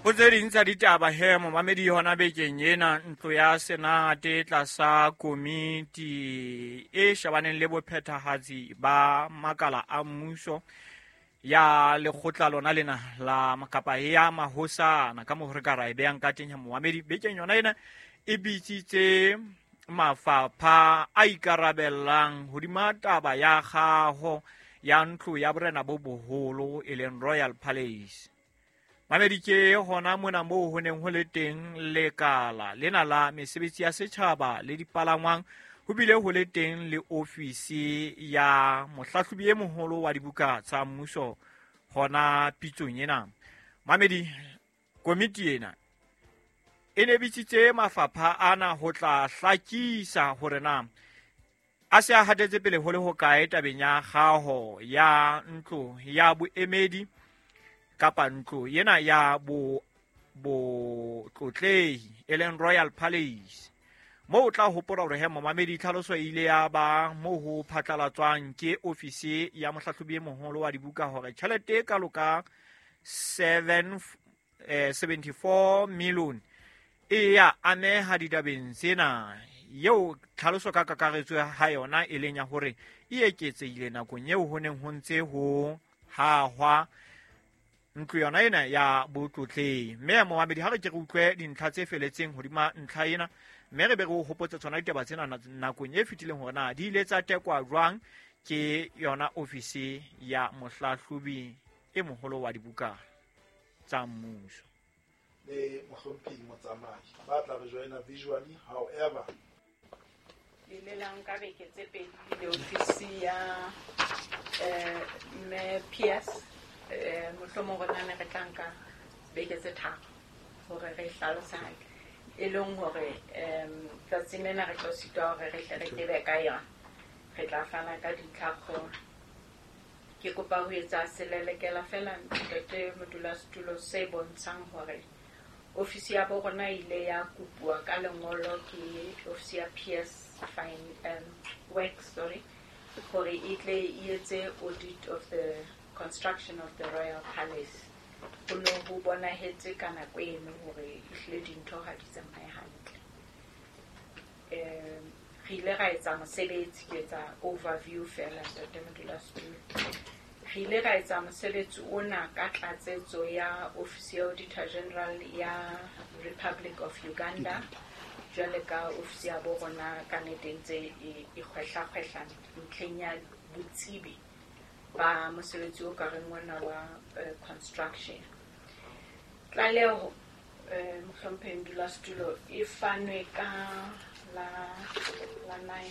Ho tse ding tsa ditaba he, momamedi, hona bekeng ena ntlo ya Senate tlasa komiti e shebaneng le bophethahatsi ba makala a mmuso ya lekgotla lona lena la kapa ya mahosana ka moo re ka ra e beyang ka teng he, momamedi, bekeng yona ena e bitsitse mafapha a ikarabellang hodima taba ya kgaho ya ntlo ya borena bo boholo, e leng Royal Palace. Mamedi, ke hona mona moo ho neng ho le teng lekala lena la mesebetsi ya setjhaba le dipalangwang, ho bile ho le teng le ofisi ya mohlahlobi e moholo wa dibuka tsa mmuso hona pitsong ena. Mamedi, komiti ena e ne bitsitse mafapha ana ho tla hlakisa hore na a se a hatetse pele ho le hokae tabeng ya kgaho ya ntlo ya boemedi kapa ntlo ena ya bo botlotlehi, e leng Royal Palace. Moo o tla hopola hore he, momamedi, tlhaloso e ile ya ba moo ho phatlalatswang ke ofisi ya mohlahlobi e moholo wa dibuka hore tjhelete e kalo ka 74 million e ya ameha ditabeng tsena, eo tlhaloso ka kakaretso ha yona e leng ya hore e eketsehile nakong eo ho neng ho ntse ho hahwa ntlo yona ena ya botlotlehi. Mme momamedi, ha re ke re utlwe dintlha tse feletseng hodima ntlha ena, mme re be re o hopotse tsona ditaba tsena nakong e fetileng hore na di ile tsa tekwa jwang ke yona ofisi ya mohlahlobi e moholo wa dibuka tsa mmuso. Le mohlomphehi Motsamai ba tla re joina visually, however. Le la nka beke tse pedi le ofisi ya mme PS. Mohlomong rona ne re tla nka beke tse 3 hore re hlalose hantle, e leng hore tsatsing lena re tlo sitwa hore re tle re tebe ka yona. Re tla fana ka dintlhakgolo. Ke kopa ho etsa selelekela fela, ntate modulasetulo, se bontshang hore ofisi ya bo rona e ile ya kopuwa ka lengolo ke ofisi ya PS Fine Works, sorry, hore e tle e etse audit of the construction of the Royal Palace. Ho ne ho bonahetse ka nako eno hore ehlile dintho ha di tsamaye hantle. Re ile ra etsa mosebetsi, ke etsa overview fela, ntate modulasetulo. Re ile ra etsa mosebetsi ona ka tlatsetso ya ofisi ya Auditor General ya Republic of Uganda, jwale ka ofisi ya bo rona ka nnete ntse e kgwehla-kgwehla ntlheng ya botsebi ba mosebetsi o ka reng ona wa construction. Tlaleho, mohlomphehi modulasetulo, e fanwe ka la 9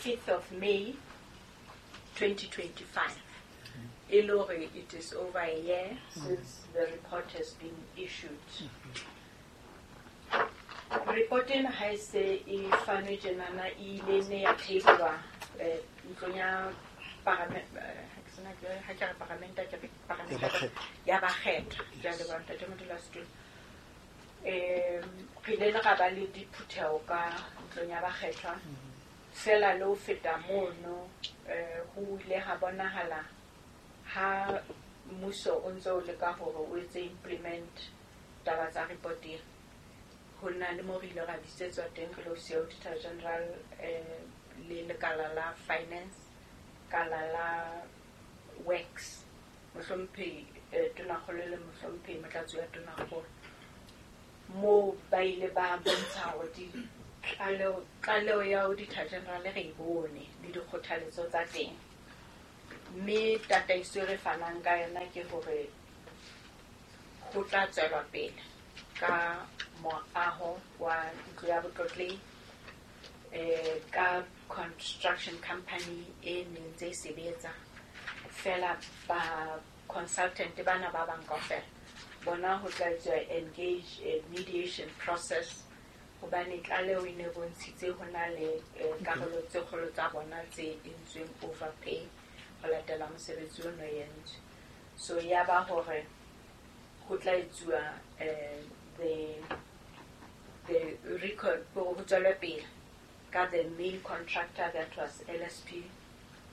5th of May 2025, e le hore it is over a year since the report has been issued. Report ena ha e se e fanwe tjenana, e ile ne ya tablewa ntlong ya ha ke re paramente, ke re paramente ya bakgethwa. Ke a leboha, ntate modulasetulo. Re ile le ra ba le diphutheho ka ntlong ya bakgethwa fela le ho feta mono. Ho ile ha bonahala ha mmuso o ntse o leka hore o etse implement taba tsa report ena, ho na le mo re ile ra bitsetswa teng re le ofisi ya Auditor General le lekala la finance, kala la works, mohlomphehi tonakgolo le mohlomphehi motlatsi wa tonakgolo, moo ba ile ba bontsha hore tlaleho ya Auditor General re e bone le dikgothaletso tsa teng, mme tataiso e re fanang ka yona ke hore ho tla tswelwa pele ka moaho wa ntlo ya botlotlehi ka construction company e neng ntse e sebetsa fela. Ba consultant bana ba bang kaofela bona ho tla etsuwa engage a mediation process, hobane tlaleho e ne bontshitse ho na le karolo tse kgolo tsa bona tse entsweng overpay ho latela mosebetsi ono entswe. So ya ba hore ho tla etsuwa the record, ho tswelwe pele ka the main contractor, that was LSP,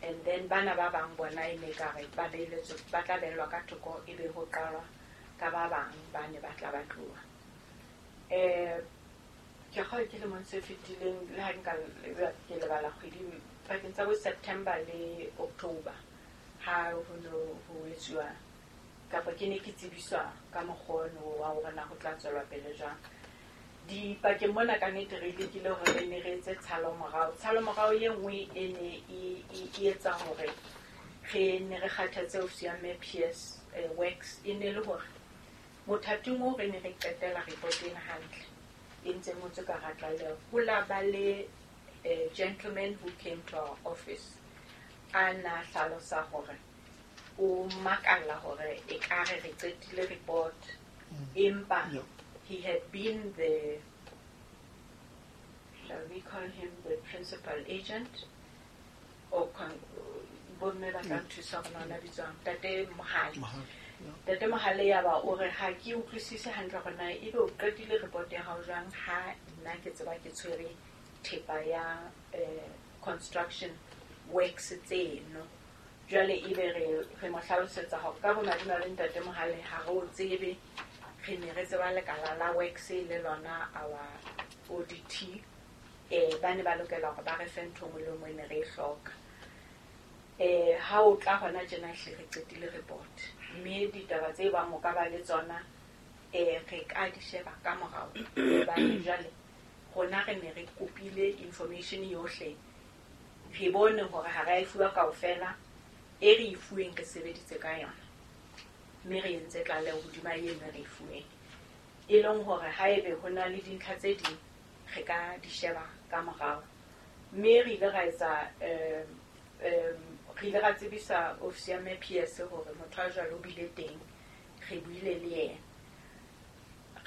and then bana ba bang bona e ne ka re ba beeletswe, ba tla beellwa ka thoko, e be ho qalwa. ka ba bang ba ne ba tla ba tloha. Ke kgolwa ke lemong se fetileng, le ha nka ke lebala kgwedi, pakeng tsa bo September le October, ha ho no ho etsuwa kapa ke ne ke tsebiswa ka mokgwa ono wa hore na ho tla tswelwa pele jwang. Dipakeng mona ka nnete re lekile hore re ne re etse tshalomorao. Tshalomorao e nngwe e ne e etsa hore re ne re kgathatse ofisi ya Mme PS Works, e ne le hore mothating oo re ne re qetela report ena hantle, e ntse ngotswe ka hara tlaleho. Ho la ba le gentleman who came to our office, a na hlalosa hore o makalla hore ekare re qetile report, empa he had been the, shall we call him the principal agent, or bomme ba tla nthusa hore na o bitswang, Ntate Mohale. Ntate Mohale ya ba o re ha ke utlwisise hantle hore na ebe o qetile report ya hao jwang ha nna ke tseba ke tshwere thepa ya construction works tseno. Jwale ebe re mo hlalosetsa hore ka bomadimabe Ntate Mohale ha re o tsebe, re ne re tseba lekala la works le lona our ODT, ba ne ba lokela hore ba re fe ntho e nngwe le e nngwe e ne re e hloka. Ha o tla hona tjena ehlile re qetile report, mme ditaba tse bang o ka ba le tsona, re ka di sheba ka morao. Hobane jwale rona re ne re kopile information yohle, re bone hore ha re a e fuwa kaofela, e re e fuweng re sebeditse ka yona, mme re entse tlaleho hodima eno re e fuweng. E leng hore haebe ho na le dintlha tse ding re ka di sheba ka morao. Mme re ile ra etsa, re ile ra tsebisa ofisi ya Mme PS hore motho a jwalo o bile teng, re buile le yena.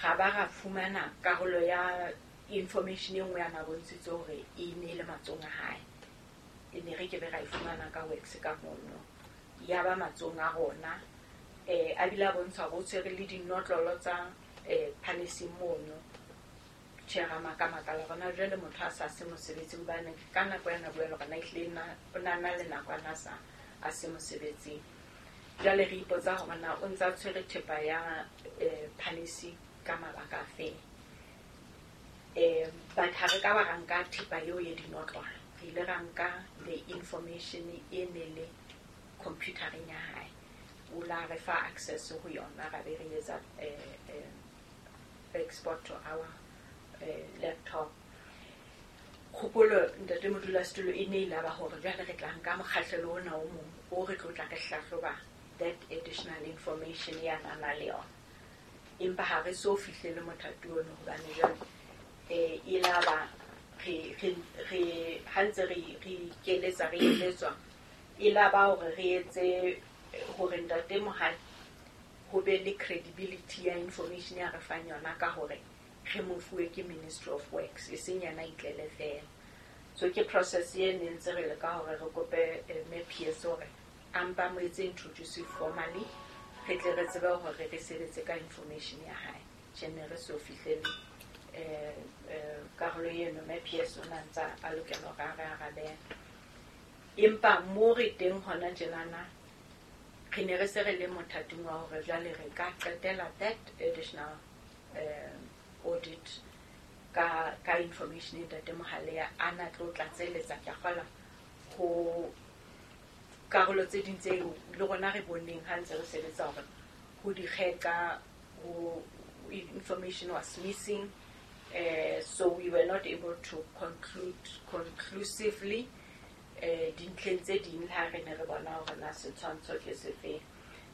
Ra ba ra fumana karolo ya information e nngwe ya na bontshitse hore e ne le matsohong a hae. E ne re ke be ra e fumana ka works ka mono. Ya ba matsohong a rona, a bile a bontsha hore o tshwere le dinotlolo tsa palace mono. Tjhe, ra maka-makala hore na jwale motho a sa se mosebetsing, hobane ka nako ya na bua le rona ehlile o na na le nako a na sa a se mosebetsing. Jwale re ipotsa hore na o ntsa tshwere thepa ya palace ka mabaka a feng. But ha re ka ba ra nka thepa eo ya dinotlolo, re ile ra nka the information e ne le computereng ya hae. O la re fa access ho yona, ra be re etsa export to our laptop. Kgopolo Ntate Modulasetulo e ne ile ba hore jwale re tla nka mokgahlelo ona o mong o re tlo tla re hlahloba that additional information ya na na le yona. Empa ha re so fihlele mothati ono hobane jwale e la ba re ha ntse re ikeletsa re eletswa, e la ba hore re etse hore Ntate Mohale ho be le credibility ya information ya re fang yona ka hore re mo fuwe ke Ministry of Works, e seng yena itlele fela. So ke process e ne ntse re leka hore re kope Mme PS hore a mpa mo etse introduce formally, re tle re tsebe hore re sebetse ka information ya hae. Tjhe, ne re so fihlele karolo eno, Mme PS o na ntsa a lokela hore a re arabele. Empa mo re teng hona tjenana, re ne re se re le mothating wa hore jwale re ka qetela that additional audit ka information e Ntate Mohale a na tlo tlatseletsa ke a kgolwa ho karolo tse ding tseo le rona re boneng ha ntse re sebetsa hore ho dikgeka, ho information was missing, so we were not able to conclude conclusively dintlheng tse ding le ha re ne re bona hore na setshwantsho ke sefeng.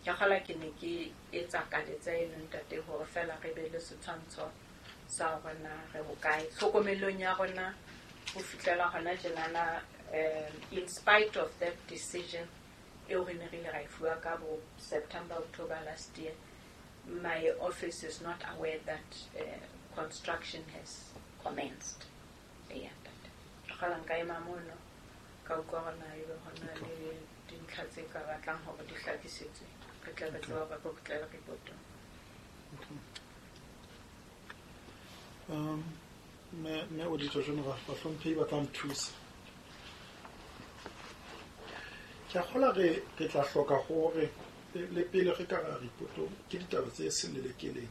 Ke kgolwa ke ne ke etsa kaletsa eno ntate hore fela re be le setshwantsho sa hore na re hokae tlhokomelong ya rona ho fihlela hona tjenana. In spite of that decision eo re ne re ile ra e fuwa ka bo September, October last year, my office is not aware that construction has commenced. Eya, ntate. Ke kgolwa nka ema mono ka utlwa hore na ebe hona le dintlha tse ka batlang hore di hlakisetswe, re tle re tsebe hore re kgutlele reportong. Mme Auditor General, bahlomphehi ba tla nthusa. Ke a kgolwa re tla hloka hore Le pele re ka ra reportong ke ditaba tse selelekeleng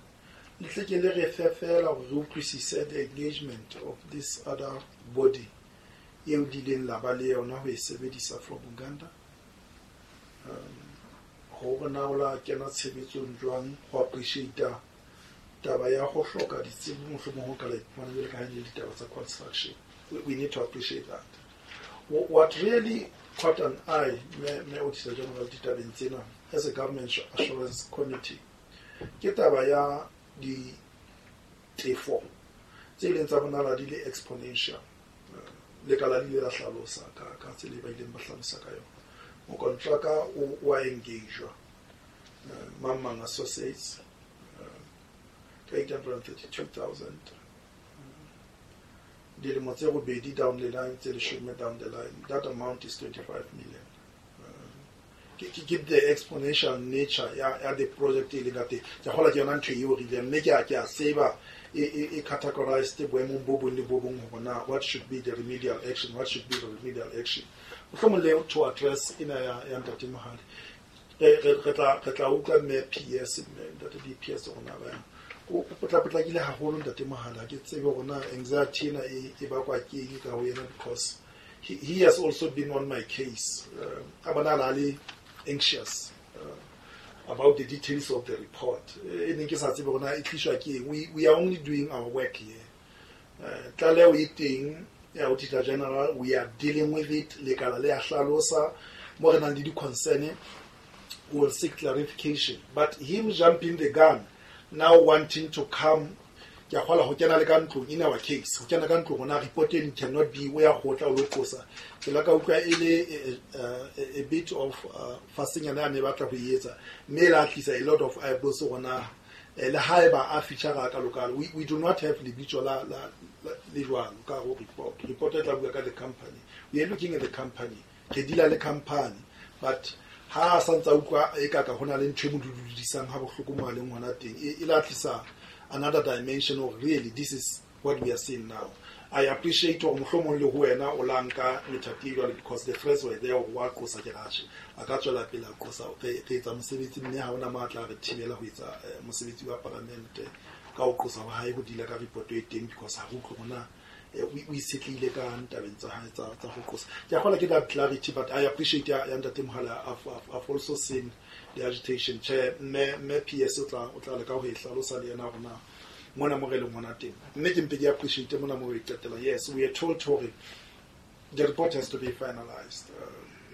le tle ke le re fe fela hore re utlwisise the engagement of this other body eo di ileng la ba le yona ho e sebedisa from Uganda, hore na o la kena tshebetsong jwang ho appreciate taba ya ho hloka ditsebo mohlomong ho ka la iphumana jwale ka ha e le ditaba tsa construction. We need to appreciate that. What really caught an eye, me Auditor General, ditabeng tsena as a government assurance committee ke taba ya ditefo tse ileng tsa bonahala di le exponential. Lekala le ile la hlalosa ka tsela e ba ileng ba hlalosa ka yona. Mokontraka o wa engagewa, Mang Mang Associates, ka 832,000, dilemo tse robedi down the line, tse 10 down the line, that amount is 25 million. Ke the exponential nature ya the project e leng ka teng. Ke kgolwa ke yona ntho eo re ileng, mme ke a tseba e categorized boemong bo bong le bo bong hore na what should be the remedial action, what should be the remedial action. Mohlomong le to address ena ya Ntate Mohale, re tla utlwa mme PS, mme Ntate DPS rona ba yang o potlapotlakile haholo. Ntate Mohale, ha ke tsebe hore na anxiety ena e bakwa ke eng ka ho yena, because he has also been on my case. A bonahala a le anxious about the details of the report e neng ke sa tsebe hore na e tliswa ke eng. We are only doing our work here. Tlaleho e teng ya Auditor General, we are dealing with it. Lekala le a hlalosa mo re nang le di-concern, we will seek clarification. But him jumping the gun now, wanting to come, ke a kgola ho kena le ka ntlong in our case, ho kena ka ntlong hona report eno cannot be o ya kgotla o lo qosa. Ke la ka utlwa e le a bit of fasenyana ya ne batla ho e etsa, mme e la tlisa a lot of eyebrows hona le haeba a feature ka lokalo. We do not have lebitso la le jwalo ka ho report. Report e tla bua ka the company. We are looking at the company, re deala le company, but ha a santsa utlwa e ka hona le ntho e mo dududisang ha bohloko mo a leng hona teng, e la tlisa another dimension of really this is what we are seeing now. I appreciate hore mohlomong le ho wena o la nka methati e jwalo, because the threats were there hore wa qosa ke ratjhe a ka tswela pele a qosa. Re etsa mosebetsi, mme ha hona matla a re thibela ho etsa mosebetsi wa paramente ka ho qosa wa hae ho deala ka report e teng, because ha re utlwe hona o itshetlehile ka ntabeng tsa hae tsa ho qosa. Ke a kgolwa ke that clarity, but I appreciate ya Ntate Mohala. I've also seen the agitation. Tjhe, mme PS o tla leka ho e hlalosa le yena hore na mona mo re leng hona teng, mme ke mpe ke appreciate mona mo e qetela. Yes, we are told hore the report has to be finalized.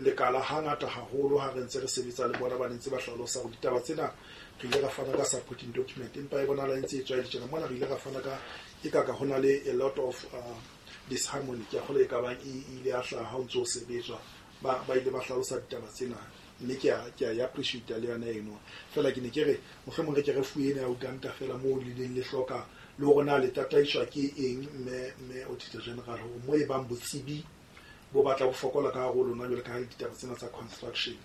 Lekala hangata haholo ha re ntse re sebetsa le bona, ba ne ntse ba hlalosa hore ditaba tsena re ile ra fana ka supporting document, empa e bonahala e ntse e tswa e le tjena. Mona re ile ra fana ka e ka hona le a lot of disharmony. Ke a kgolwa e ka bang e ile ya hlaha ha o ntso o sebetswa. Ba ile ba hlalosa ditaba tsena, mme ke a e appreciate le yona eno. Fela ke ne ke re mohlomong re ke re fuwe ena ya Uganda fela moo le leng le hloka le hore na le tataiswa ke eng, mme Auditor General, hore mo e bang botsebi bo batla bo fokola ka hare ho lona jwale ka ha ditaba tsena tsa construction,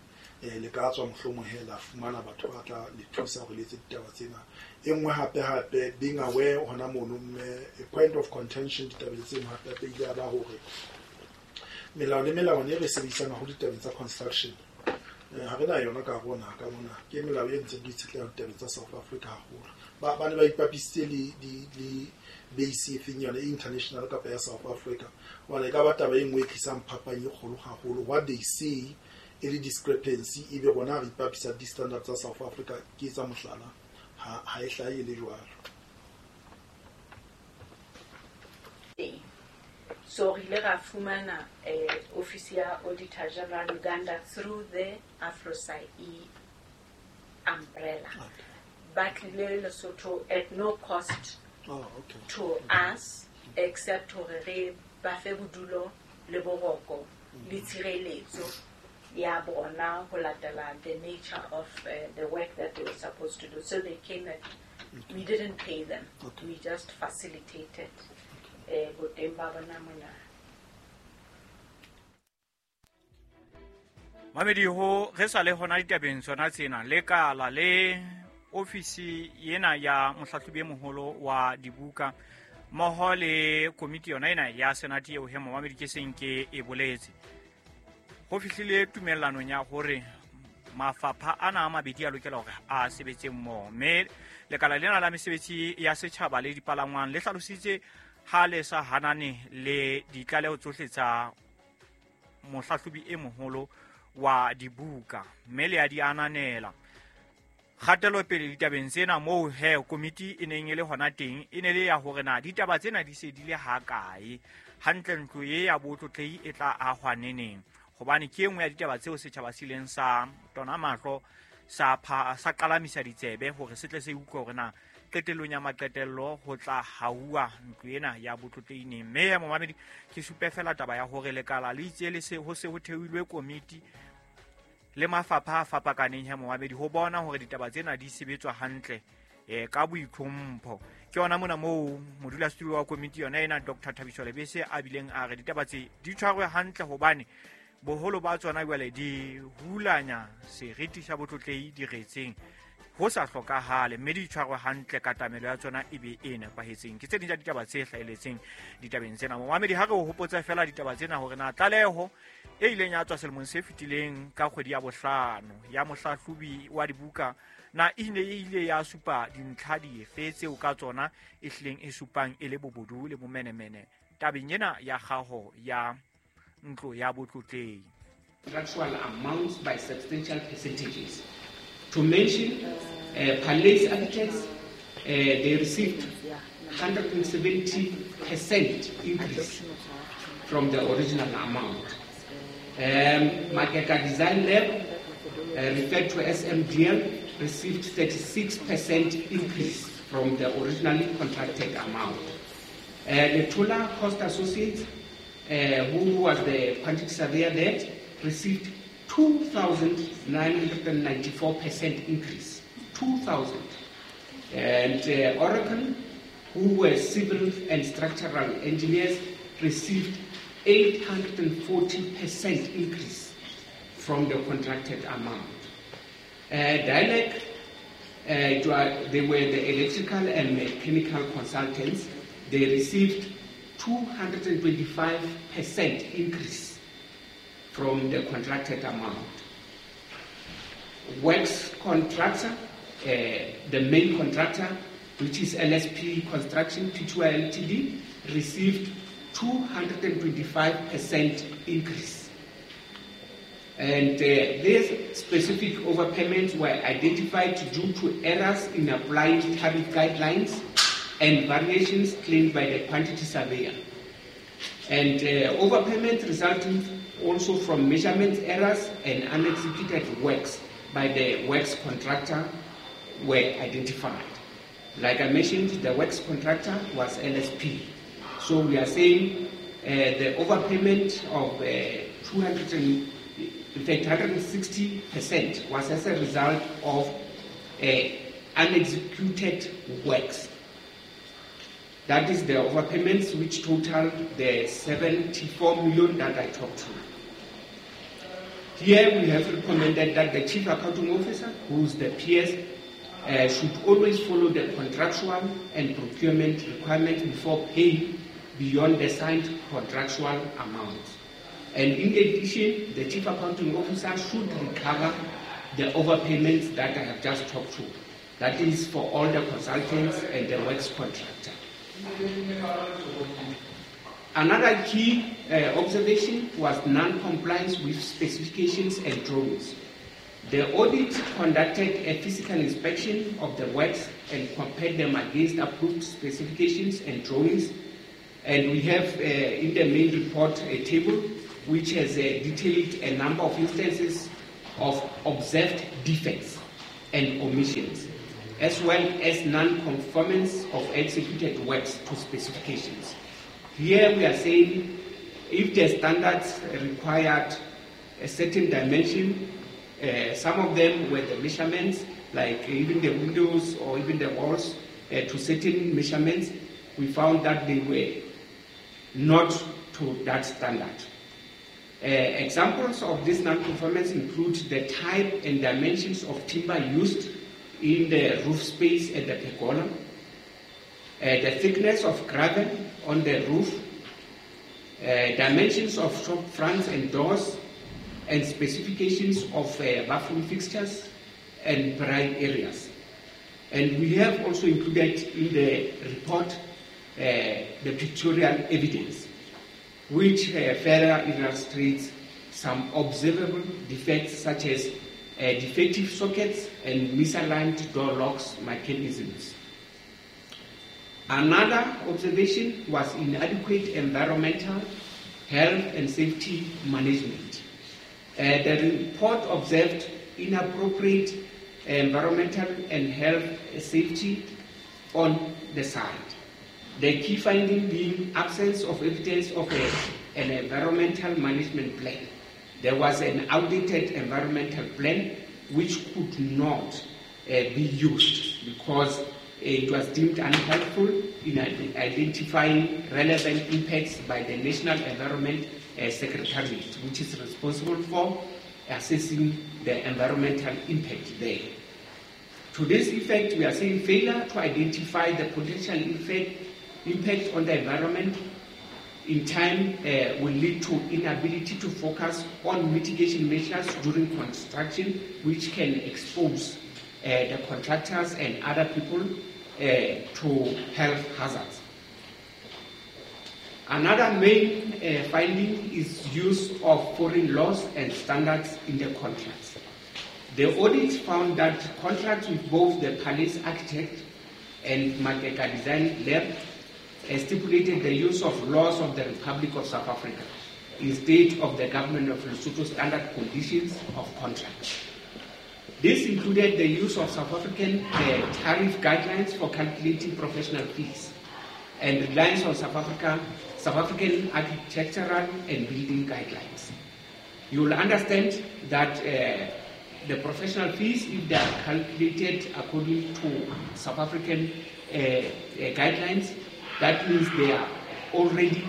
le ka tswa mohlomong he la fumana batho ba tla le thusa hore le etse ditaba tsena. E nngwe hape hape, being aware hona mono, mme a point of contention ditabeng tseno hape hape ile ya ba hore melao le melawana e re sebedisang haholo ditabeng tsa construction, ha re na yona ka hare ho naha ka mona. Ke melao e ntseng di itshetleha ditabeng tsa South Africa haholo. Ba ne ba ipapisitse le base e feng, yona e international kapa ya South Africa? Hobane e ka ba taba e nngwe e tlisang phapang e kgolo haholo. What they say e le discrepancy, ebe rona re ipapisa di-standard tsa South Africa. Ke etsa mohlala, ha e hlahe e le jwalo. Teng so re ile ra fumana office ya Auditor General Uganda through the AFROSAI umbrella. Ba tlile Lesotho at no cost Oh, okay. to us, except hore re ba fe bodulo le boroko le tshireletso ya bona ho latela the nature of the work that they were supposed to do. So they came at, we didn't pay them. We just facilitated boteng ba bona mona. Mamedi, ho re sa le hona ditabeng tsona tsena, lekala le ofisi ena ya mohlahlobi e moholo wa dibuka mmoho le komiti yona ena ya senate eo he momamedi ke seng ke e boletse, ho fihlile tumellanong ya hore Mafapha ana a mabedi a lokela hore a sebetse mmoho, mme lekala lena la mesebetsi ya setjhaba le dipalangwang le hlalositse ha le sa hanane le ditlaleho tsohle tsa mohlahlobi e moholo wa dibuka, mme le a di ananela. Kgatelopele ditabeng tsena moo he komiti e neng e le hona teng e ne le ya hore na ditaba tsena di se di le hakae, hantle ntlo e ya botlotlehi e tla ahwa neneng, hobane ke e nngwe ya ditaba tseo setjhaba se ileng sa tona mahlo sa qalamisa ditsebe hore se tle se utlwe hore na qetellong ya maqetello ho tla hauwa ntlo ena ya botlotlehi neng. Mme ya momamedi ke supe fela taba ya hore lekala le itse le se ho se ho theilwe komiti le mafapha a fapakaneng ya momamedi ho bona hore ditaba tsena di sebetswa hantle ka boitlhompho. Ke yona mona moo modulasetulo wa komiti yona ena Dr. Thabiso Lebese a bileng a re ditaba tse di tshwarwe hantle hobane boholo ba tsona jwale di hulanya seriti sa botlotlehi diretseng ho sa hlokahale, mme di tshwarwe hantle katamelo ya tsona e be e nepahetseng. Ke tse ding tsa ditaba tse hlahelletseng ditabeng tsena. Momamedi, ha re o hopotsa fela ditaba tsena hore na tlaleho e ileng ya tswa selemong se fetileng ka kgwedi ya bohlano ya mohlahlobi wa dibuka na e ne e ile ya supa dintlha dife tseo ka tsona e hlileng e supang e le bobodu le bomenemene tabeng ena ya kgaho ya ntlo ya botlotlehi. Contractual amounts by substantial percentages. To mention, Palace Architects, they received 170% increase from the original amount. Makeka Design Lab, referred to as MDL, received 36% increase from the originally contracted amount. Letola Cost Associates, who was the quantity surveyor there, received 2,994% increase. 2,000. And Oracle, who were civil and structural engineers, received 840% increase from the contracted amount. Dialect, they were the electrical and mechanical consultants. They received 225% increase from the contracted amount. Works contractor, the main contractor, which is LSP Construction Pty Ltd, received 225% increase. And these specific overpayments were identified due to errors in applying tariff guidelines and variations claimed by the quantity surveyor. And overpayments resulting also from measurement errors and unexecuted works by the works contractor were identified. Like I mentioned, the works contractor was LSP. So we are saying the overpayment of 160% was as a result of unexecuted works. That is the overpayments which total the 74 million that I talked to. Here we have recommended that the Chief Accounting Officer, who is the PS, should always follow the contractual and procurement requirements before paying beyond the signed contractual amounts. And in addition, the Chief Accounting Officer should recover the overpayments that I have just talked to. That is for all the consultants and the works contractor. Another key observation was non-compliance with specifications and drawings. The audit conducted a physical inspection of the works and compared them against approved specifications and drawings. And we have in the main report a table which has detailed a number of instances of observed defects and omissions, as well as non-conformance of executed works to specifications. Here we are saying if the standards required a certain dimension, some of them were the measurements, like even the windows or even the walls, to certain measurements, we found that they were not to that standard. Examples of this non-conformance include the type and dimensions of timber used in the roof space at the pergola, the thickness of gravel on the roof, dimensions of shop fronts and doors, and specifications of bathroom fixtures and dry areas. And we have also included in the report the pictorial evidence, which further illustrates some observable defects such as defective sockets and misaligned door locks mechanisms. Another observation was inadequate environmental, health and safety management. The report observed inappropriate environmental and health safety on the site. The key finding being absence of evidence of an environmental management plan. There was an outdated environmental plan which could not be used because it was deemed unhelpful in identifying relevant impacts by the National Environment Secretariat, which is responsible for assessing the environmental impact there. To this effect, we are saying failure to identify the potential impact on the environment in time will lead to inability to focus on mitigation measures during construction, which can expose the contractors and other people to health hazards. Another main finding is use of foreign laws and standards in the contracts. The audit found that contracts with both the Palace Architect and Makeka Design Lab stipulated the use of laws of the Republic of South Africa instead of the government of Lesotho standard conditions of contract. This included the use of South African tariff guidelines for calculating professional fees and reliance on South African architectural and building guidelines. You will understand that the professional fees, if they are calculated according to South African guidelines, that means they are already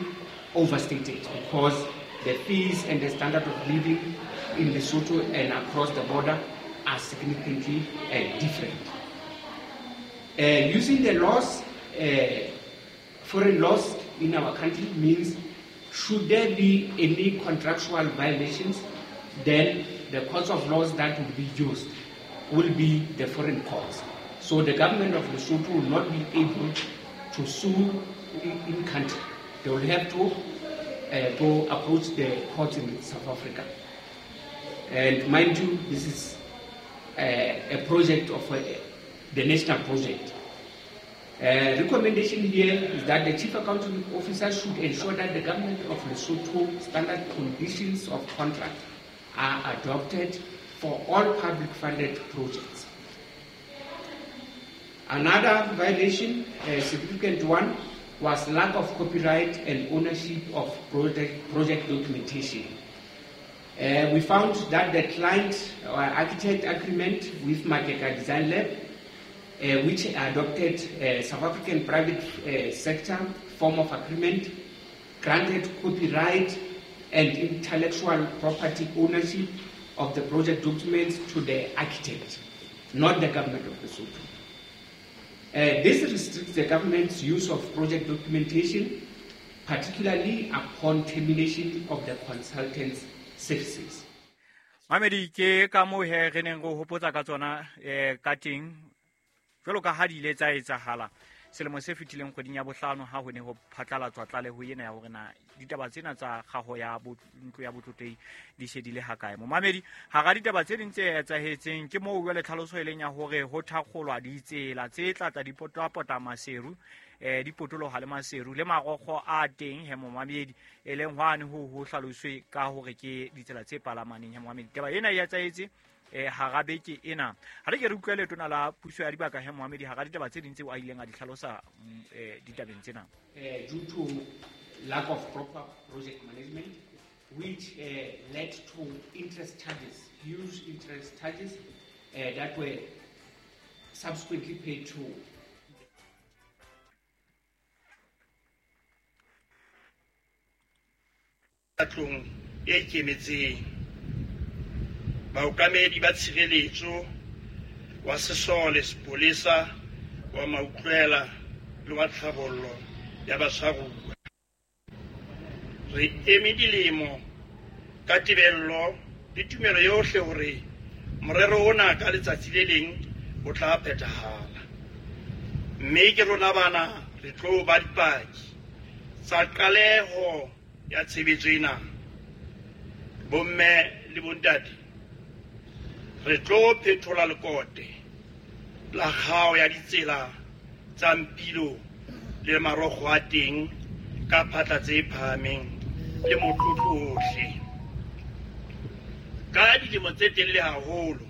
overstated because the fees and the standard of living in Lesotho and across the border are significantly different. Using the laws, foreign laws in our country means should there be any contractual violations, then the courts of laws that will be used will be the foreign courts. So the government of Lesotho will not be able to sue in country. They will have to go approach the courts in South Africa. And mind you, this is a project of the national project. Recommendation here is that the Chief Accounting Officer should ensure that the government of Lesotho standard conditions of contract are adopted for all public funded projects. Another violation, a significant one, was lack of copyright and ownership of project documentation. We found that the client or architect agreement with Makeka Design Lab, which adopted South African private sector form of agreement, granted copyright and intellectual property ownership of the project documents to the architect, not the government of Lesotho. This restricts the government's use of project documentation, particularly upon termination of the consultant's services. Mamedi ke ka moo he re neng re hopotsa ka tsona ka teng jwalo ka ha di ile tsa etsahala selemo se fetileng kgweding ya bohlano ha ho ne ho phatlalatswa tlaleho ena ya hore na ditaba tsena tsa kgaho ya ntlo ya botlotlehi di se di le hakae. Momamedi hara ditaba tse ding tse etsahetseng ke moo jwale tlhaloso e leng ya hore ho thakgolwa ditsela tse tlatla di potapota Maseru di potoloha le Maseru le marokgo a teng he momamedi e leng hwane ho hlaloswe ka hore ke ditsela tse palamaneng he momamedi. Taba ena e etsahetse hara beke ena. Ha re ke re utlwe letona la puso ya dibaka he Mohamedi hara ditaba tse ding tseo a ileng a di hlalosa ditabeng tsena. Due to lack of proper project management, which led to interest charges, huge interest charges that were subsequently paid to tlong e ikemetseng. Baokamedi ba tshireletso wa sesole, sepolesa, wa mautlwela le wa tlhabollo ya batshwaruwa. Re eme dilemo ka tebello le tumelo yohle hore morero ona ka letsatsi le leng o tla phethahala. Mme ke rona bana re tlo ba dipaki tsa qaleho ya tshebetso ena. Bomme le bontate, re tlo phethola lekote la kgao ya ditsela tsa Mpilo le marokgo a teng ka phatla tse phahameng le motlotlo ohle. Ka dilemo tse telele haholo,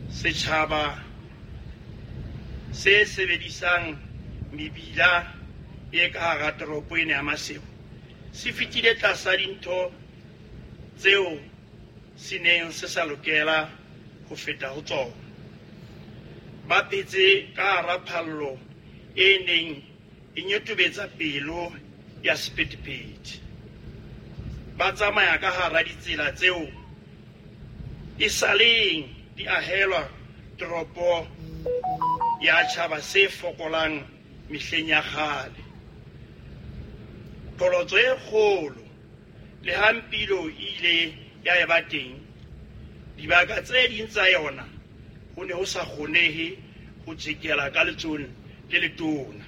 setjhaba se sebedisang mebila e ka hara toropo ena ya Maseru se fetile tlasa dintho tseo se neng se sa lokela ho feta ho tsona. Ba phetse ka hara phallo e neng e nyotobetsa pelo ya sephethephethe. Ba tsamaya ka hara ditsela tseo e saleng di ahelwa toropo ya tjhaba se fokolang mehleng ya kgale. Qholotso e kgolo le ha Mpilo e ile ya eba teng, dibaka tse ding tsa yona ho ne ho sa kgonehe ho tjekela ka letsohong le letona.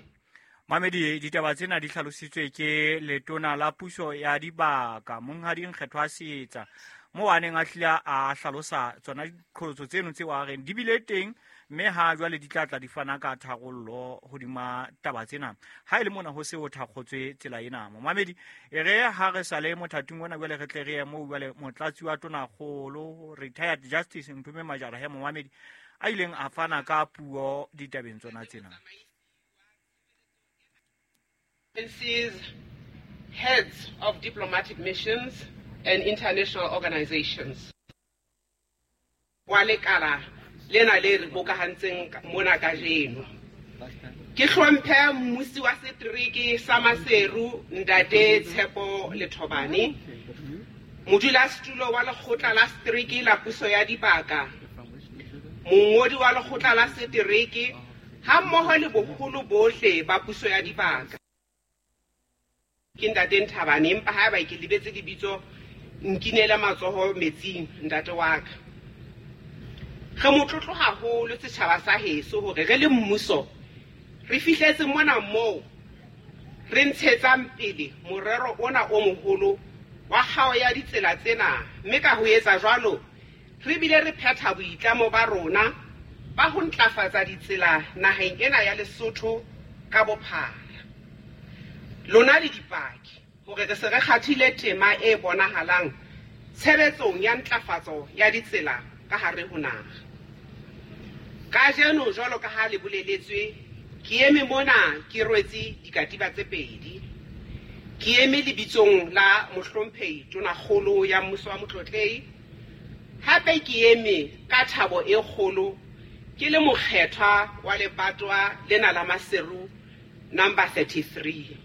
Mamedi, ditaba tsena di hlalositswe ke letona la puso ya dibaka Monghadi Nkgethwa Seetsa, moo a neng a hlile a hlalosa tsona diqholotso tseno tseo a reng di bile teng, mme ha jwale di tla tla di fana ka tharollo hodima taba tsena. Ha e le mona ho se ho thakgotswe tsela ena. Momamedi, e re ha re sa le mothating ona jwale re tle re ye moo jwale motlatsi wa tonakgolo retired Justice Mphume Majara he momamedi a ileng a fana ka puo ditabeng tsona tsena. Heads of diplomatic missions and international organizations. Wa lekala lena le re bokahantseng mona kajeno. Ke hlomphe mmusi wa setereke sa Maseru Ntate Tshepo Lethobane, modulasetulo wa lekgotla la setereke la puso ya dibaka, mongodi wa lekgotla la setereke hammoho le boholo bohle ba puso ya dibaka. Ke Ntate Nthabane, empa haeba ke lebetse lebitso nkinele matsoho metsing ntate wa ka. Re motlotlo haholo setjhaba sa heso hore re le mmuso re fihletse mona moo re ntshetsang pele morero ona o moholo wa kgao ya ditsela tsena, mme ka ho etsa jwalo re bile re phetha boitlamo ba rona ba ho ntlafatsa ditsela naheng ena ya Lesotho ka bophara. Lona le dipaki hore re se re kgathile tema e bonahalang tshebetsong ya ntlafatso ya ditsela ka hare ho naha. Kajeno jwalo ka ha le boleletswe, ke eme mona ke rwetse dikatiba tse pedi. Ke eme lebitsong la mohlomphehi Tonakgolo ya mmuso wa Motlotlehi, hape ke eme ka thabo e kgolo ke le mokgethwa wa lebatwa lena la Maseru number 33.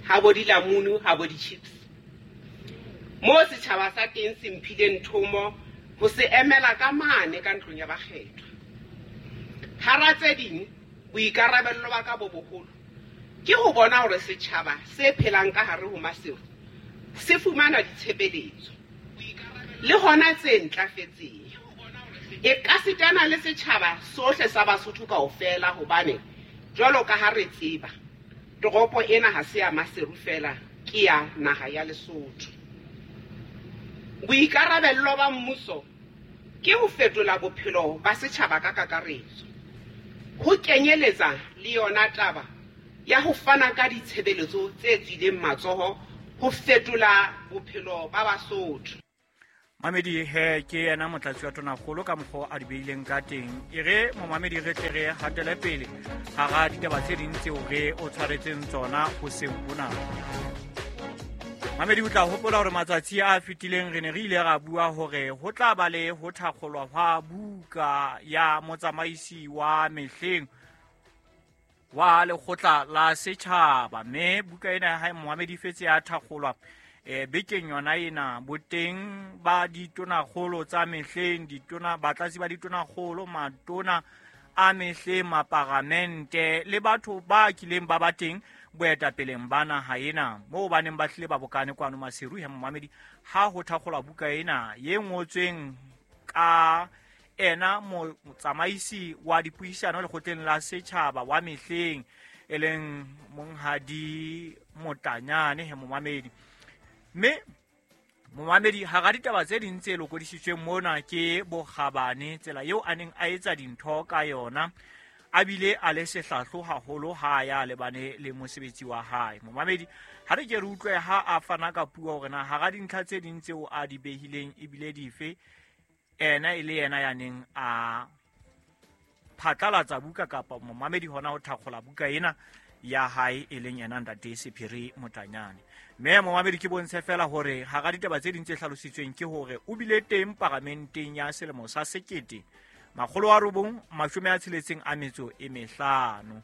Ha bo dilamunu, ha bo di-chips. Mo setjhaba sa teng se mphileng thomo ho se emela ka mane ka ntlong ya bakgethwa. Hara tse ding, boikarabello ba ka bo boholo ke ho bona hore setjhaba se phelang ka hare ho Maseru se fumana ditshebeletso le hona tse ntlafetseng. E ka sitana le setjhaba sohle sa Basotho kaofela, hobane jwalo ka ha re tseba toropo ena ha se ya Maseru fela, ke ya naha ya Lesotho. Boikarabello ba mmuso ke ho fetola bophelo ba setjhaba ka kakaretso, ho kenyeletsa le yona taba ya ho fana ka ditshebeletso tse tswileng matsoho ho fetola bophelo ba Basotho. Mamedi he ke yena motlatsi wa tonakgolo ka mokgwa a di beileng ka teng. E re momamedi re tle re hatele pele hara ditaba tse ding tseo re o tshwaretseng tsona hoseng hona. Mamedi, o tla hopola hore matsatsi a fetileng re ne re ile ra bua hore ho tla ba le ho thakgolwa hwa buka ya motsamaisi wa mehleng wa lekgotla la setjhaba, mme buka ena ya hae momamedi fetse ya thakgolwa bekeng yona ena. Boteng ba ditonakgolo tsa mehleng, ditona batlatsi ba ditonakgolo, matona a mehleng, maparamente le batho ba kileng ba ba teng boetapeleng ba naha ena, moo ba neng ba hlile ba bokane kwano Maseru he momamedi ha ho thakgolwa buka ena ye ngotsweng ka ena motsamaisi wa dipuisano lekgotleng la setjhaba wa mehleng e leng Monghadi Motanyane he momamedi. Mme momamedi hara ditaba tse ding tse lokodisitsweng mona ke bokgabane, tsela eo a neng a etsa dintho ka yona, a bile a le sehlahlo haholo ha ya lebane le mosebetsi wa hae. Momamedi ha re ke re utlwe ha a fana ka puo hore na hara dintlha tse ding tseo a di behileng ebile dife, ena e le yena ya neng a phatlalatsa buka kapa momamedi hona ho thakgola buka ena ya hae e leng yena Ntate Sephiri Motanyane. Mme momamedi ke bontshe fela hore hara ditaba tse ding tse hlalositsweng ke hore o bile teng paramenteng ya selemo sa 1965.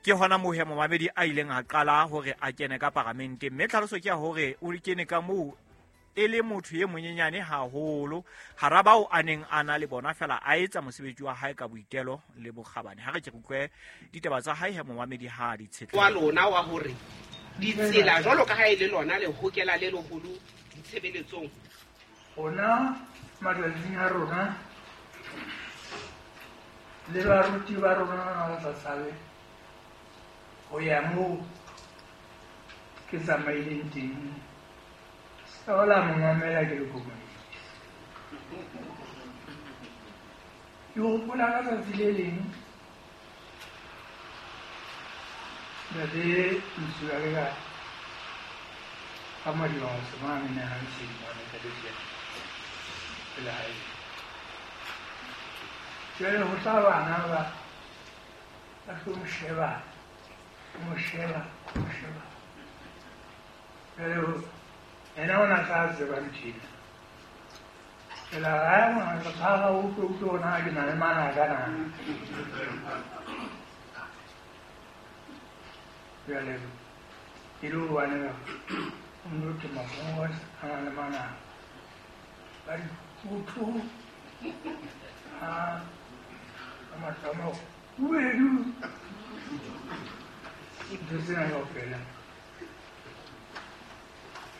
Ke hona moo he momamedi a ileng a qala hore a kene ka paramenteng, mme tlhaloso ke ya hore o kene ka moo e le motho e monyenyane haholo hara bao a neng a na le bona, fela a etsa mosebetsi wa hae ka boitelo le bokgabane. Ha re ke re utlwe ditaba tsa hae he momamedi ha di tshetle wa lona wa hore ditsela jwalo ka ha e le lona le hokela le leholo ditshebeletsong. Rona matsatsing a rona le baruti ba rona ba sa tshabe ho ya moo ke tsamaileng teng. Hola, mamela ke le komunist. Ke hopola ka tsatsi le leng ntate Mosiuwa le ka Madiba mane ne a ntse mane ka lejana pela hae. Jwale ho tla bana ba tlo mo sheba, mo sheba, mo sheba. Jwale ena o na tla tseba ntho ena. Fela hae ngwana ka ga utlwe utlwe hore na ke na le manaka na. Jwale e le hobane o no te mafungwa a na le manaka. Ba re kutu a matamo uedu ntho tsena kaofela.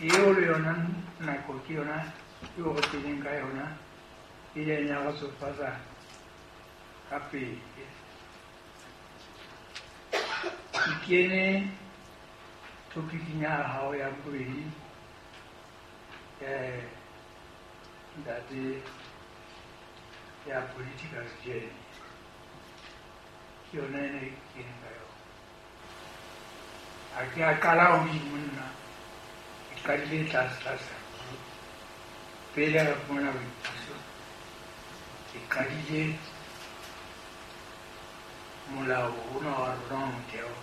Eo le yona nako ke yona eo re tseleng ka yona e ileng ya re tsofatsa ka pele. Ke kene topiking ya hao ya bobedi ntate ya political journey, ke yona ene ke keneng ka yona. Ha ke a qala hodimo nna, ke qadile tlase tlase haholo. Pele re fumana boipuso, ke qadile molao ona wa rona wa motheo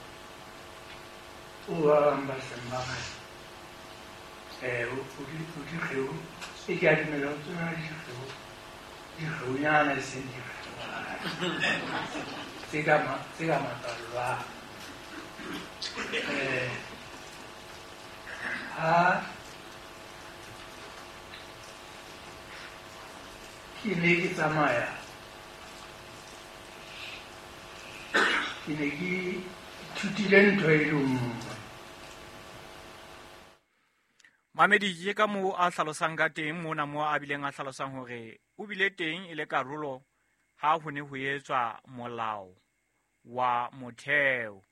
o ba bang ba seng ba re o dikgeo, e ke a dumela ho tsona dikgeo, dikgeonyana e seng dikgeo tse ka matswalo. Ha ke ne ke tsamaya, ke ne ke ithutile ntho e le nngwe. Mamedi ke ka moo a hlalosang ka teng mona moo a bileng a hlalosang hore o bile teng e le karolo ha ho ne ho etswa molao wa motheo.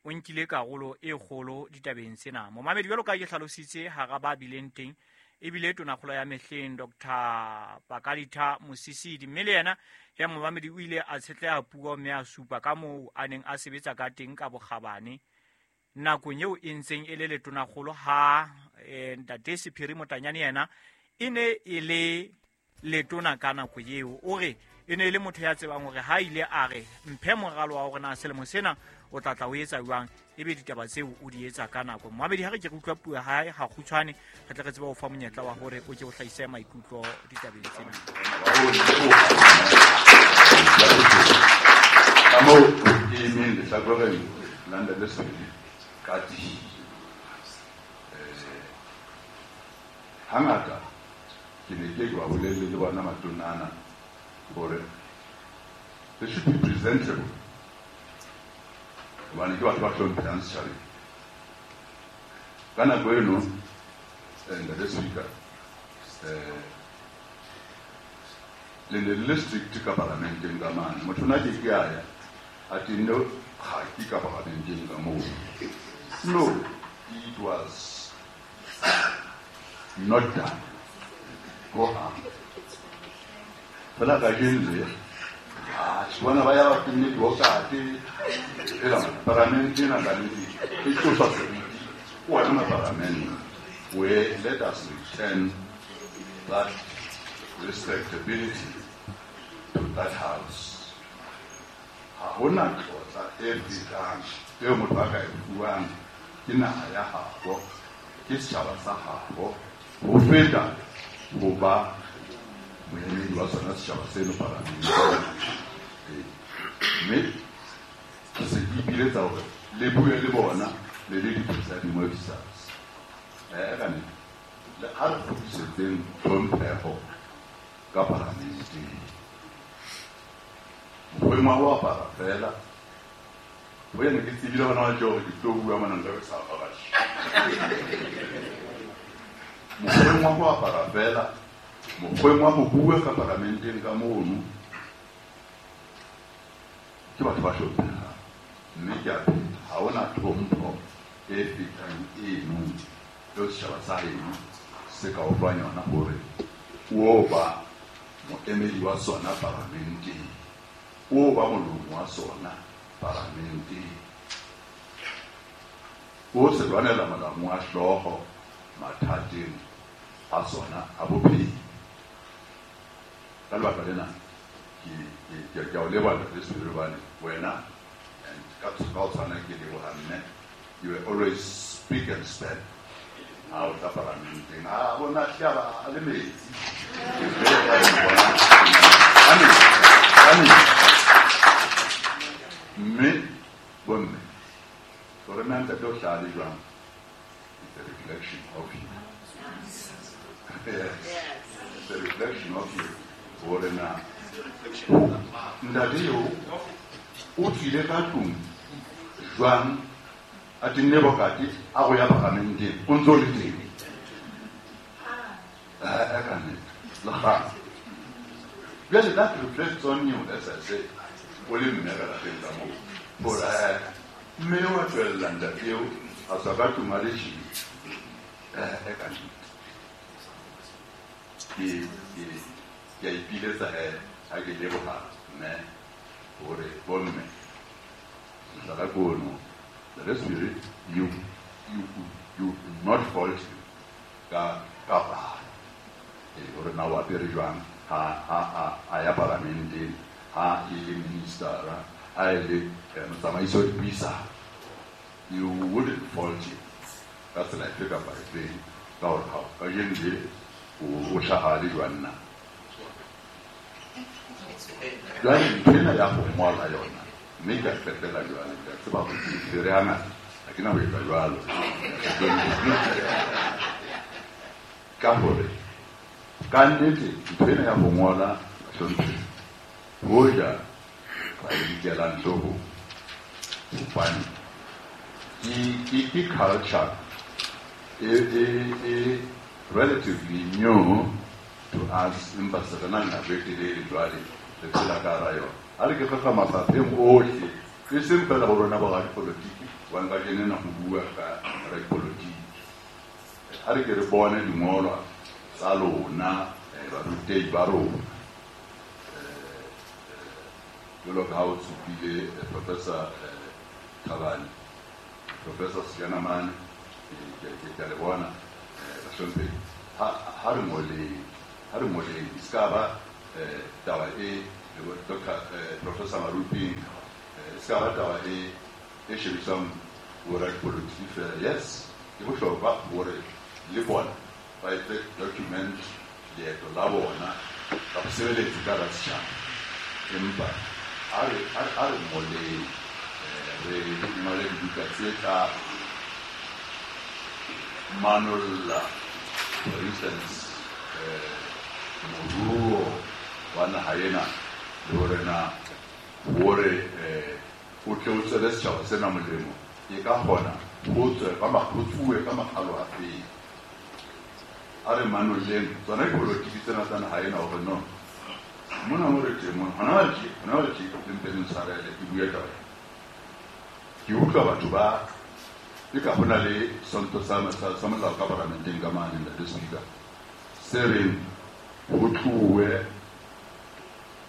O nkile karolo e kgolo ditabeng tsena. Momamedi jwalo ka ke hlalositse hara ba bileng teng ebile tonakgolo ya mehleng Dr. Pakalitha Mosisili, mme le yena ya momamedi o ile a tshetleha puo mme a supa ka moo a neng a sebetsa ka teng ka bokgabane nakong eo e ntseng e le letonakgolo ha Ntate Sephiri Motanyane yena e ne e le letona ka nako eo. O re e ne e le motho ya tsebang hore ha ile a re mphe moralo wa hore na selemo sena o tla tla o etsa jwang, ebe ditaba tseo o di etsa ka nako. Momamedi ha re ke re utlwa puo ya hae ha kgutshwane, re tle re tsebe ho fa monyetla wa hore o ke o hlahise maikutlo ditabeng tsena. Ka moo ke emeng lehlakoreng la Ntate Sephiri ka tiyo. Hangata ke ne ke ba bolelle le bona matonana hore They should be presentable. Hobane ke batho ba hlomphehang setjhabeng. Ka nako eno, Ntate Speaker, le ne le le strict ka parlamenteng ka mane. Motho na ke ke a ya, a tenne kgaki ka parlamenteng ka moo. No, it was not done. Go on. Fela kajeno le, bona ba ya ba tenne diokate, ela parlamente ena ka nnete e tlosa seriti. Wena parlamente, where let us return that respectability to that house. Ha hona tlotla e fetang eo motho a ka e fuwang ke naha ya habo, ke setjhaba sa habo, ho feta ho ba moemedi wa sona setjhaba seno parlamenteng. Mme ke se ke ipiletsa hore le bue le bona le le di-presiding officers. Ka nnete, ha re kgutlisetseng tlhompheho ka parlamenteng. Mokgweng wa ho apara fela, ho ene ke tsebile hona jwale hore ke tlo bua mona nka be sa apara tjhe. Mokgweng wa ho apara fela, mokgweng wa ho bua ka parlamenteng ka mono, ke batho ba hlomphehang. Mme ke a pheta, ha hona tlhompho e fetang eno eo setjhaba sa heno se ka o fang yona hore o ba moemedi wa sona parlamenteng, o ba molomo wa sona parlamenteng, o se lwanela molamu wa hlooho mathateng a sona a bophelo. Ka lebaka lena, ke a o leboha Ntate Sebele hobane wena, and ka ho tshwana ke leboha mme, you were always speak and stand. Ha o tla parlamenteng, ha bona hlaba a le metsi. Mme bomme, hore na ntate o hlaha le jwang, it's a reflection of you. Yes. It's a reflection of you. Hore na ntate eo o tswile ka tlung jwang, a tenne bokate a go ya parlamenteng, o ntse o le teng. Ka nnete, le kgale. Jwale that reflects on you, as I say, o le mme ka lapeng ka moo. Hore mme wa tswella ntate eo a tswa ka tlung a le tjhe. Ka nnete. Ke a ipiletsa he ha ke leboha mme hore bomme mohlala ke ono. The Spirit, you not fault you ka palo. Hore na o apere jwang ha a ya parlamenteng, ha e le ministera, ha e le motsamaisi wa dipuisano. You wouldn't fault him ka tsela efe kapa efeng, ka hore ha kajeno le o hlaha le jwang na. Jwale ntho ena ya ho ngola yona, mme ka qetela jwale, ke a tseba hore ke tshwere hangata, ha ke na ho etsa jwalo. Ka hore ka nnete ntho ena ya ho ngola bahlomphehi, hoja ba e nkelang hloohong, hobane ke culture e relatively new to us, empa se re na le nako e telele jwale re phela ka hara yona. Ha re ke tloha mafapheng ohle, e seng fela ho rona bo radipolotiki, hobane kajeno ena ho bua ka radipolotiki. Ha re ke re bone dingolwa tsa lona, barutehi ba rona. Jwalo ka ha o supile Professor Thabane, Professor Sejanamane, ke a le bona, bahlomphehi. Ha re ngoleng, ha re ngoleng, e ska ba taba e Doctor Professor Maruping, e ska ba taba e shebisang bo radipolotiki fela. Yes, ke bohlokwa hore le bona ba etse document leeto la bona ka ho sebeletsa ka hara setjhaba. Empa ha re ngoleng, re ngole dibuka tse tla manolla, for instance, moruo wa naha ena, le hore na hore o tle o tswele setjhaba sena molemo, e ka kgona ho tswe ka ho tsuwe ka makgalo a feng. A re manolleng tsona dipolotiki tsena tsa naha ena hore no mona mo re teng mona hona jwale tje, hona jwale tje, le mpe le ntshwarele ke bue taba ena. Ke utlwa batho ba e ka ho na le sonto sa molao ka paramenteng ka mane, Ntate Speaker, se reng ho tluwe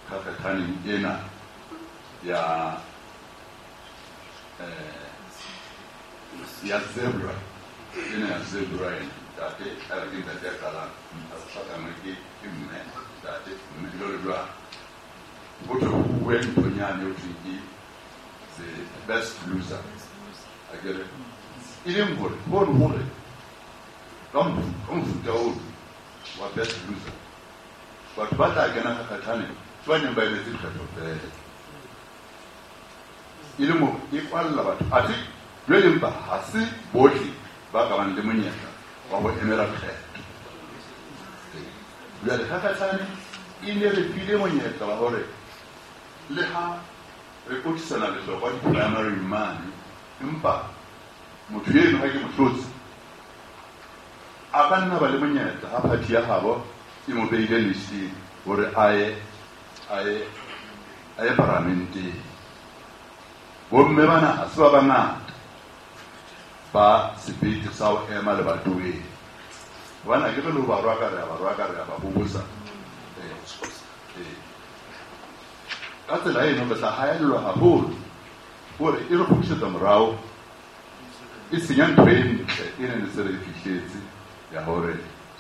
kgakgathaneng ena ya ya zebra ena, ya zebra ena. Ntate a re ke ntate ya qalang, a hlakanngwe ke mme, ntate, mme, jwalo jwalo. Ho thwe ho bue nthonyane ho thweng ke the best loser, akere, e leng hore hono hore ka mofuta ono wa best loser, batho ba tla kena kgakgathaneng ke ba neng ba emetse dikgetho fela, e leng hore e kwalla batho. Athe jwale empa ha se bohle ba ka bang le monyetla wa ho emela kgetho. Jwale kgakgathane e ne re file monyetla wa hore le ha re kotisana lehlokwa di-primary mane, empa motho eno ha ke mohlotsi a ka nna ba le monyetla ha party ya habo e mo beile listeng hore a ye paramenteng. Bomme bana ha se ba bangata ba sebete sa ho ema lebatoweng, hobane ha ke re le ho ba rwaka, re a ba rwaka, re a ba bobosa. Ka tsela eno re tla haellwa haholo hore e re kgutlisetsa morao, e senya ntho e ntle e neng se re e fihletse ya hore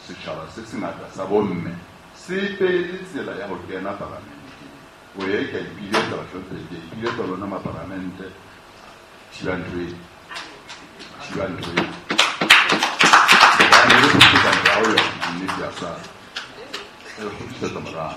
setjhaba se sengata sa bomme se pele tsela ya ho kena paramenteng. O ye ke a ipiletsa, bahlomphehi, ke a ipiletsa lona maparamente, thiba ntho e, thiba ntho e, hobane e re kgutlisetsa morao yona. Nnete ya sala e re kgutlisetsa morao.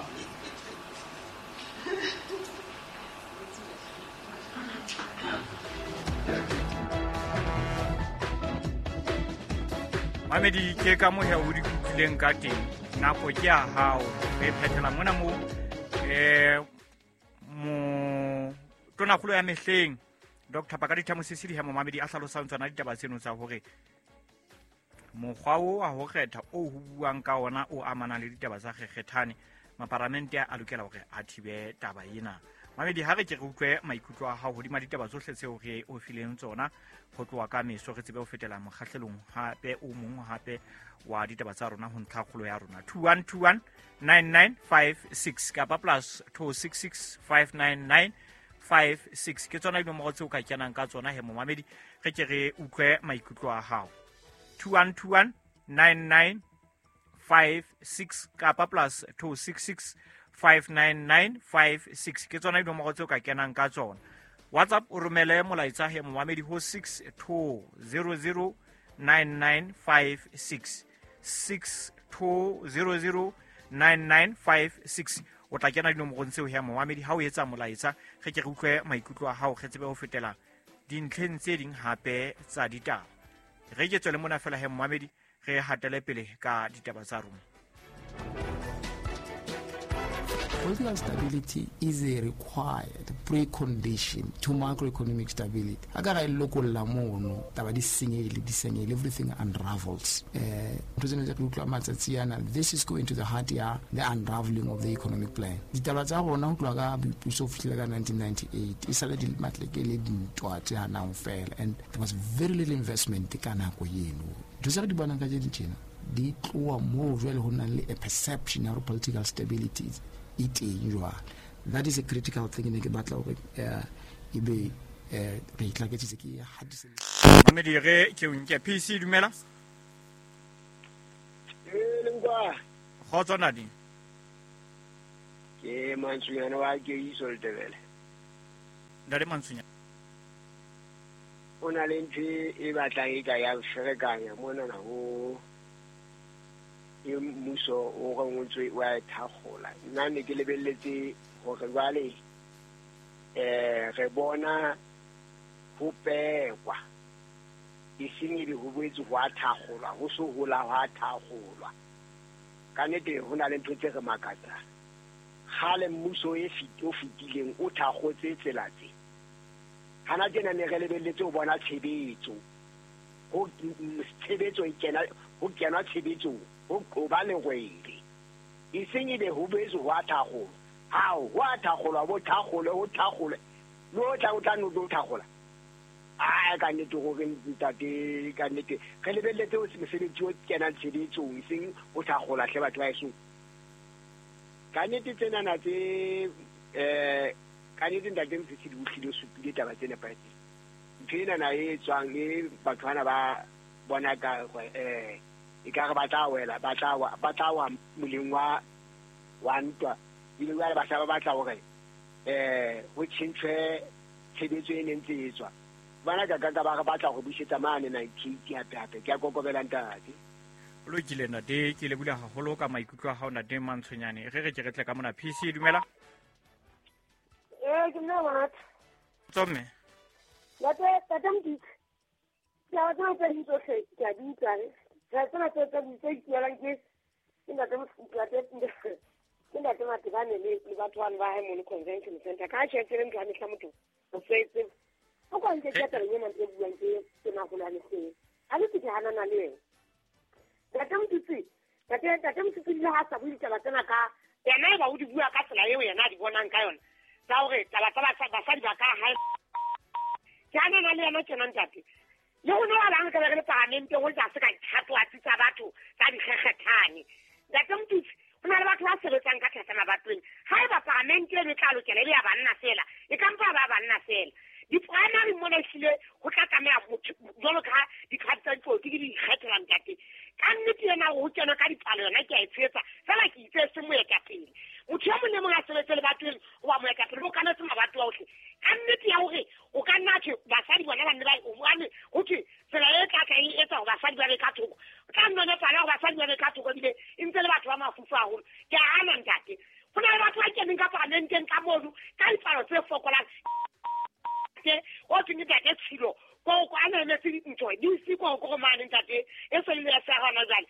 Mamedi, ke ka mohe o di utlwileng ka teng. Nako ke ya hao, re phethela mona mo mo tonakgolo ya mehleng Dr Pakalitha Mosisili ha momamedi a hlalosang tsona ditaba tseno tsa hore mokgwa o wa ho kgetha o ho buang ka ona o amanang le ditaba tsa kgekgethane, maparamente a lokela hore a thibe taba ena. Mamedi, ha re ke re utlwe maikutlo a hao hodima ditaba tsohle tseo re o fileng tsona ho tloha ka meso, re tsebe ho fetela mokgahlelong hape o mong hape wa ditaba tsa rona ho ntlhakgolo ya rona. 2121 9956 kapa +266 599 56 ke tsona dinomoro tseo ka kenang ka tsona he momamedi. Re ke re utlwe maikutlo a hao. 2121 9956 kapa +266 599 56 ke tsona dinomoro tseo ka kenang ka tsona. WhatsApp o romele molaetsa he momamedi ho 6200 9956, 6200 9956. O tla kena dinomorong tseo he momamedi ha o etsa molaetsa. Re ke re utlwe maikutlo a hao, re tsebe ho fetela dintlheng tse ding hape tsa ditaba. Re ke tswele mona fela he momamedi, re hatele pele ka ditaba tsa rona. Political stability is a required precondition to macroeconomic stability. A ka ga e lokolla mono, taba di senyehile, di senyehile, everything unravels. Ntho tsena tse re utlwa matsatsi ana, this is going to the heart ya the unraveling of the economic plan. Ditaba tsa rona ho tloha ka boipuso ho fihlela ka 1998 e sale di matleke le dintwa tse hanang fela, and there was very little investment ka nako eno. Ntho tse re di bonang ka tse tjena di tloha moo jwale ho nang le a perception ya hore political stability e teng jwale. That is a critical thing ne ke batla hore ebe re itlaketsitse ke hatise. Mamedi, re ke o nke. PC, dumela. Ee, Lenkwa. Kgotso nadi. Ke Mantsonyana wa Keiso Letebele. Ntate Mantsonyana. O na le ntho e batlang e ka ya ferekanya monana ho e mmuso o re ngotswe wa e thakgola. Nna ne ke lebelletse hore jwale re bona ho pekwa, e seng ebe ho boetse ho a thakgolwa, ho so hola ho a thakgolwa. Ka nnete ho na le ntho tse re makatsang. Kgale mmuso e o fetileng o thakgotse tsela tse. Hana tjena ne re lebelletse ho bona tshebetso. Ho tshebetso e kena ho kenwa tshebetsong ho ba lehwebe. E seng ebe ho boetse ho a thakgolwa. Hao, ho a thakgolwa, bo thakgolwe, ho thakgolwe. Le o tla o tla no tlo thakgola. Ai ka nnete hore ntate ka nnete re lebelletse ho mosebetsi o kenang tshebetsong e seng ho thakgola hle batho ba heso. Ka nnete tsenana tse ka nnete ntate Mosisili o hlile o supile taba tse nepahetseng. Ntho enana e tswang e batho bana ba bona ka e ka re ba tla wela ba tla wa moleng wa ntwa ebile jwale ba sa ba batla hore ho tjhentjhwe tshebetso e neng tse etswa. Bana ka ka ba re batla go busetsa mane 98 hape hape ke a kokobela ntate. O lokile ntate, ke lebula haholo ka maikutlo a hao ntate Mantshonyane. Re ke re tle ka mona PC dumela. Ke nna Mahatha. Tsomme. Ntate Mditsi. Ke a tsena tse ding tsohle ke a di utlwa. Ke tsena tse tse ikuelang ke ntate ke ntate Matebane le batho bano ba hae mono convention center. Ka tjhe tsele ntho ya mehla motho o fetse. O kwa nke ke taba ena e buang ke maholo a mehleng. A le ke hanana le yena. Ntate Mditsi, ntate Mditsi le ha sa bue ditaba tsena ka yena e ba o di bua ka tsela eo yena a di bonang ka yona. Tsa hore taba tsa basadi ba ka hae. Ke hanana le yena tjena ntate. Le ho no ba bang ka re le parlamenteng ho tla se ka dithatwatsi tsa batho tsa dikgekgethane. Ntate Mditsi, ho na le batho ba sebetsang ka thata mabatoweng. Haeba parlamente eno e tla lokela e be ya banna fela, e ka mpa ba banna fela. Di-primary mona ehlile ho tla tlameha motho jwalo ka dikgato tsa dipolotiki di ikgethela ntate. Ka nnete ena ho kenwa ka dipalo yona ke a e tshehetsa, fela ke itse se moetapele. Motho e mong le mong a sebetse lebatoweng hoba moetapele o okametse mabatowa ohle. Ka nnete ya hore o ka nna thwe basadi bona ba nne ba hobane ho thwe tsela e tla tla e etsa hore basadi ba be ka thoko. O tla nnonofala hore basadi ba be ka thoko ebile e ntse le batho ba mafufu haholo. Ke a hana ntate. Ho na le batho ba keneng ka parlamenteng ka mono ka dipalo tse fokolang. O thweng ke ntate Tshilo ko a na emetse ntho di se ko ko mane ntate e se le ya sa hona jwale.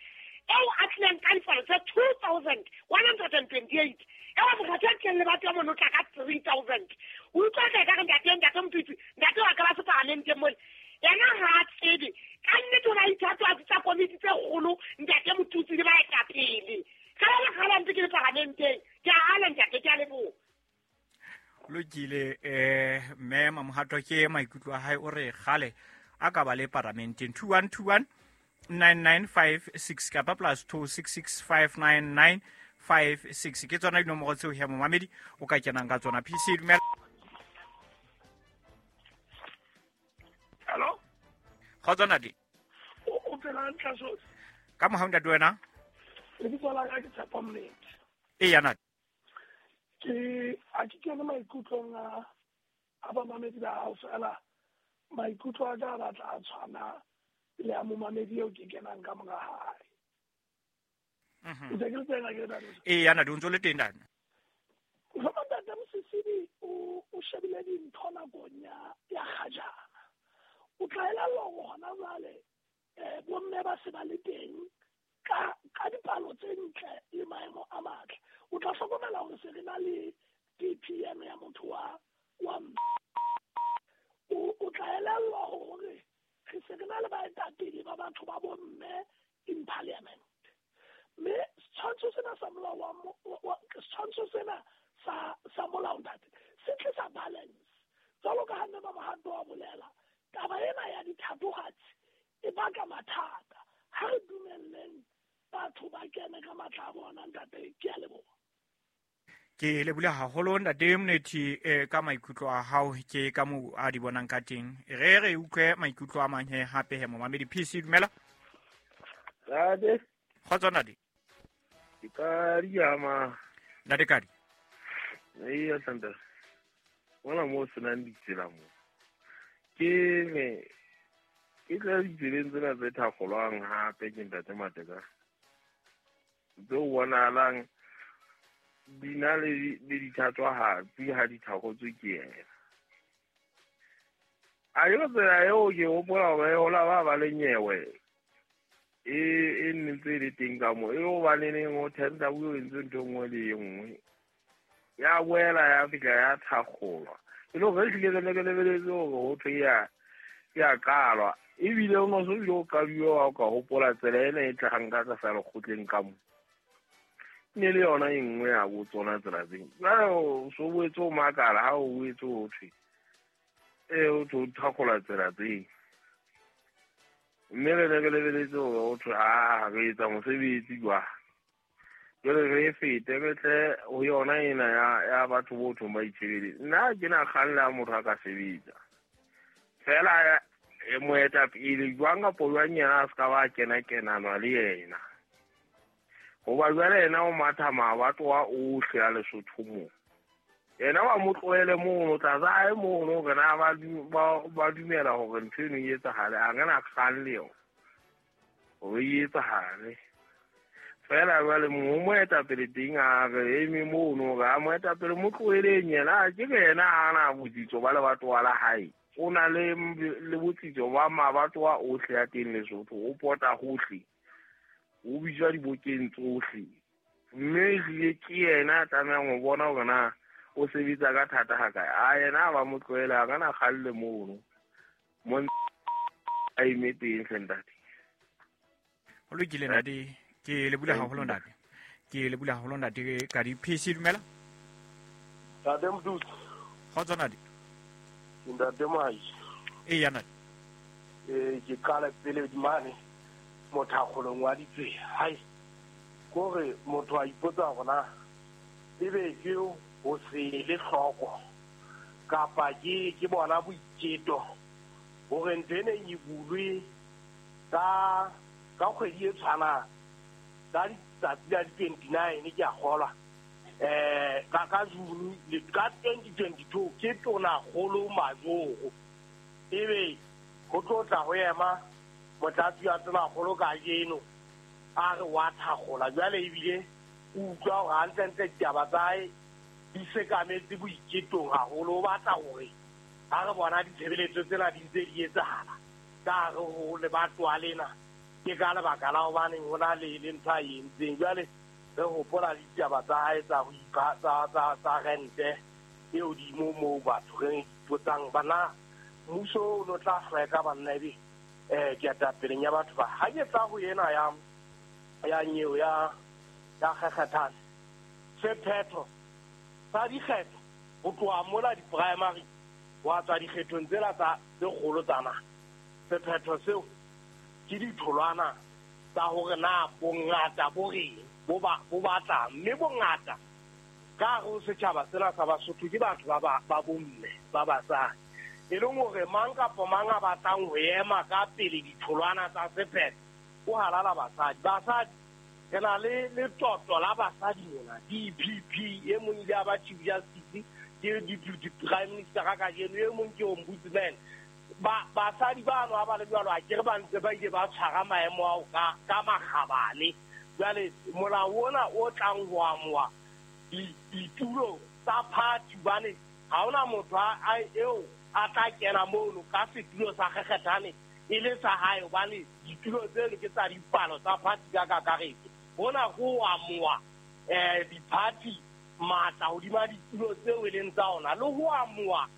Eo a tlileng ka dipalo tse 2128. Eo mokgatlo a tlileng le batho ba mono tla ka 3000. O utlwa ka re ntate Mditsi, ntate wa ka ba se parlamenteng mole. Yena ha a tsebe. Ka nnete o na ithatwatsi tsa komiti tse kgolo ntate Motutsi le baetapele. Ka ba kgala ntse ke le parlamenteng. Ke a hana ntate, ke a leboha. Lokile mme Mamohato ke maikutlo a hae o re kgale a ka ba le parlamenteng 2121 9956 kapa plus 26659956 ke tsona dinomoro tseo ya momamedi o ka kenang ka tsona. PC dumela. Hello. Kgotso ntate. O phela hantle so. Ka mohau ntate wena. Lebitso la ka ke Tshepo Mnete. Eya ntate. Ke a ke kene maikutlong a bamamedi ba hao fela maikutlo a ka a batla a tshwana le a momamedi eo ke kenang ka mora hae. Ntse ke le teng akere ntate? Eya ntate, o ntso le teng ntate. Mohlomong ntate Mosisili o shebile dintho nakong ya kgajana. O tla elellwa hore hona jwale bomme ba se ba le teng ka dipalo tse ntle le maemo a matle. O tla hlokomela hore se re na le DPM ya motho wa o tla elellwa hore re se re na le baetapele ba batho ba bomme in parliament. Mme setshwantsho sena sa molao wa setshwantsho sena sa molao ntate se tlisa balance. Jwalo ka ha mme Mamohato a bolela, taba ena ya dithatohatsi e baka mathata. Ha re dumelleng batho ba kene ka matla a bona ntate, ke a leboha. Ke lebula haholo ntate Mnete ka maikutlo a hao ke ka mo a di bonang ka teng. Re utlwe maikutlo a mang he hape he momamedi. PC dumela. Ntate. Kgotso ntate. Ke ka diama. Ntate Kadi. Eya ntate. Mona mo senang ditsela mo. Ke ne ke tla ditseleng tsena tse thakgolwang hape ke ntate Mateka. Tse bonahalang di na le dithatwahatsi ha di thakgotswe ke yena. A ke tsela eo ke hopola hore hola ba ba le nyewe e nne ntse e le teng ka moo e hobaneneng ho tender o entse ntho e nngwe le e nngwe. Ya boela ya fihla ya thakgolwa. E le hore ehlile re ne re lebeletse hore ho thwe ya qalwa. Ebile o no so bile o qaduwe wa o ka hopola tsela ena e tlahang ka tlasa lekgotleng ka mo. Ne le yona e nngwe ya bo tsona tsela tseo. Jwale o so boetse o makala ha o boetse ho thwe o thwe o thakgola tsela tseo. Mme re ne re lebeletse hore ho thwe a re etsa mosebetsi jwang. Jwale re fete re tle ho yona ena ya batho bo thong ba itshebeletse. Nna ke na kgang le ha motho a ka sebetsa. Feela moetapele jwang kapo jwang yena a se ka ba kena-kenanwa le yena. Hoba jwale yena o matha mabatowa ohle a Lesotho moo. Yena wa mo tlohele mono tlasa hae mono hore na ba dumela hore ntho eno e etsahale. A re na kgang le yona hore e etsahale. Feela jwale mo moetapele teng a re eme mono hore a moetapele mo tloheleng yena. Ke re yena ha ana botsitso ba lebatowa la hae. O na le botsitso ba mabatowa ohle a teng Lesotho. O pota hohle. O bitswa dibokeng tsohle. Mme ehlile ke yena a tlamehang ho bona hore na o sebetsa ka thata hakae. A yena ba mo tlohela a kana kgalle mono. Mo a eme teng hle ntate. Ho lokile ntate. Ke le bula haholo ntate. Ke le bula haholo ntate ka di PC dumela. Ntate Mdutsi. Kgotso ntate. Ntate Moahi. Eya ntate. Ke qala pele mane mothakgolong wa ditsela. Hai. Kore motho a ipotsa hore na ebe ke ho se le hloko kapa ke bona boiketo hore ntho ena e bulwe ka kgwedi e tshwanang ka letsatsi la di-29 ke a kgolwa ka June ka 2022 ke tonakgolo Majoro ebe ho tlo tla ho ema motlatsi wa tonakgolo kajeno a re wa thakgola. Jwale ebile o utlwa hore hantlentle ditaba tsa hae di sekametse boiketong haholo. O batla hore ha re bona ditshebeletso tsena di ntse di etsahala ka hare ho lebatowa lena ke ka lebaka la hobaneng ho na le ntho a e entseng. Jwale re hopola le ditaba tsa hae tsa ho ipha tsa rente e hodimo moo batho re ipotsang bana mmuso o no tla hlweka banna ebe ketapeleng ya batho ba. Ha ke tla ho ena ya nyeo ya kgekgethane sephetho sa dikgetho ho tloha mola di-primary wa tswa dikgethong tsela tsa tse kgolo tsa naha. Sephetho seo ke ditholwana tsa hore na bongata bo reng bo batlang, mme bongata ka hare ho setjhaba sena sa Basotho ke batho ba bomme ba basadi, e leng hore mang kapa mang a batlang ho ema ka pele ditholwana tsa sephetho o halala basadi. Basadi re na le letoto la basadi mona DPP, e mong ile a ba Chief Justice ke Deputy Prime Minister ka kajeno, e mong ke Ombudsman. Basadi bano ha ba le jwalo a ke re ba ntse ba ile ba tshwara maemo ao ka makgabane. Jwale molao ona o tlang ho amoha ditulo tsa party hobane ha hona motho eo a tla kena mono ka setulo sa kgekgethane e le sa hae hobane ditulo tseno ke tsa dipalo tsa party ka kakaretso. Hona ho amoha di-party matla hodima ditulo tseo e leng tsa ona le ho amoha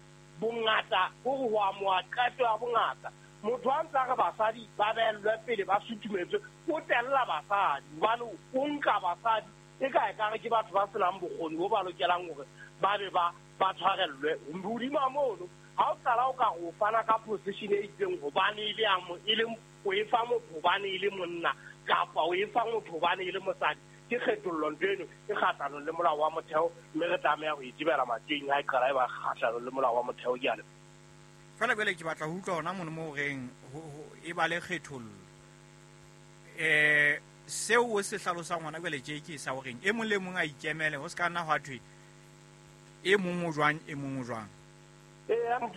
bongata, hore ho amoha qeto ya bongata. Motho a ntse a re basadi ba behellwe pele ba sutumetswe, o tella basadi hobane o nka basadi e ka ekare ke batho ba senang bokgoni bo ba lokelang hore ba be ba tshwarellwe. Hodima mono ha o qala o ka re o fana ka position e itseng hobane e le o e fa motho hobane e le monna kapa o e fa motho hobane e le mosadi, ke kgethollo ntho eno e kgahlanong le molao wa motheo, mme re tlameha ho e thibela matjeng ha e qala e ba kgahlanong le molao wa motheo. Ke a leboha. Feela jwale ke batla ho utlwa hona mono moo reng e ba le kgethollo. Seo o se hlalosang hona jwale tje ke sa horeng e mong le mong a ikemele, ho se ka nna hwa thwe e mong o jwang e mong o jwang. Ee,